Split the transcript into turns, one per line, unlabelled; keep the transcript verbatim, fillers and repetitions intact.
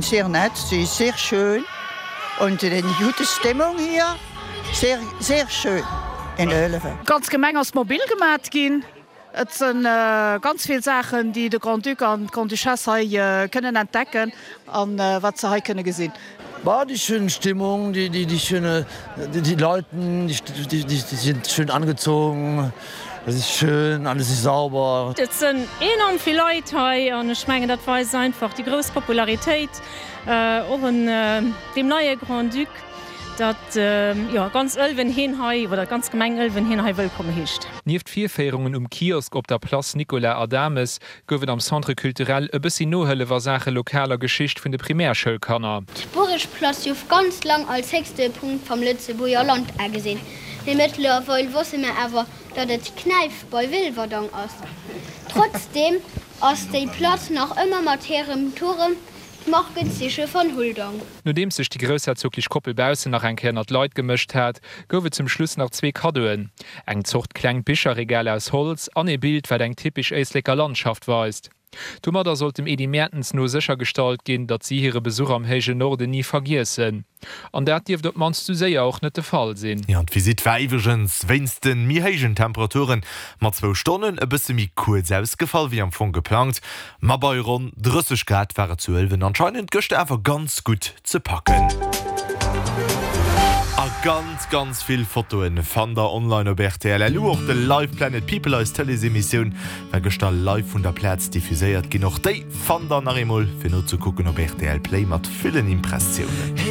Sehr nett, sie ist sehr schön und eine gute Stimmung hier. Sehr, sehr schön in Ëlwen.
D'ganz Gemeng ass mobil gemat ginn. Et si ganz vill Saachen, déi de Grand-Duc an d'Grande-Duchesse hei kënnen entdecken an wat se hei kënne gesinn.
Bah, die schöne Stimmung, die, die, die schöne, die, die Leuten, die, die, die, die sind schön angezogen. Es ist schön, alles ist sauber.
Et sinn enorm vill Leit hei an ech mengen dat weist einfach déi grouss Popularitéit och un deem neie Grand-Duc, datt jo ganz Ëlwen hien hei oder d'ganz Gemeng Ëlwen hien hei wëllkomm heescht.
Nieft Virféierungen um Kiosk op der Place Nicolas Adames gouf et am Centre culturel e bëssi Nohëllef a Saache lokaler Geschicht vun de Primärschoulkanner.
D'Buregplass jouf ganz lang als héchste Punkt vam Lëtzebuerger Land agesinn, mee mëttlerweil wosse mer awer, datt et d'Knäif bei Wilwerdang ass. Trotzdeem ass déi Platz nach ëmmer mat hirem Turem d'Markenzeeche van Huldang.
Nodeems sech déi groussherzoglech Koppel baussen nach eng Kéier ënnert d'Leit gemëscht hat, gouf et zum Schluss nach zwee Kaddoen, eng Zort klengt Bicherregal aus Holz an ee Bild, wat eng typesch Éisleker Landschaft weist. Domadder sollt dem Edy Mertens no séchergestallt ginn, datt si hire Besuch am héijen Norden ni vergiessen. An dat dierft op d'mannst sou séier och net de Fall sinn.
Jo, an d'Visitt war iwwregens wéinst de méi héijen Temperature mat zwou Stonnen e bësse méi kuerz ausgefall wéi am Fong geplangt. Ma bei ronn drësseg Grad war et zu Ëlwen anscheinend gëschter awer ganz gutt ze packen. A ganz ganz vill Fotoen fannt der online op rtl. Lu. Och de Live Planet People, eis Tëleesemissioun, war gëschter live vun der Plaz diffuséiert ginn. Och déi fannt der nach eemol fir nozekucken op rtl Play mat villen Impressiounen.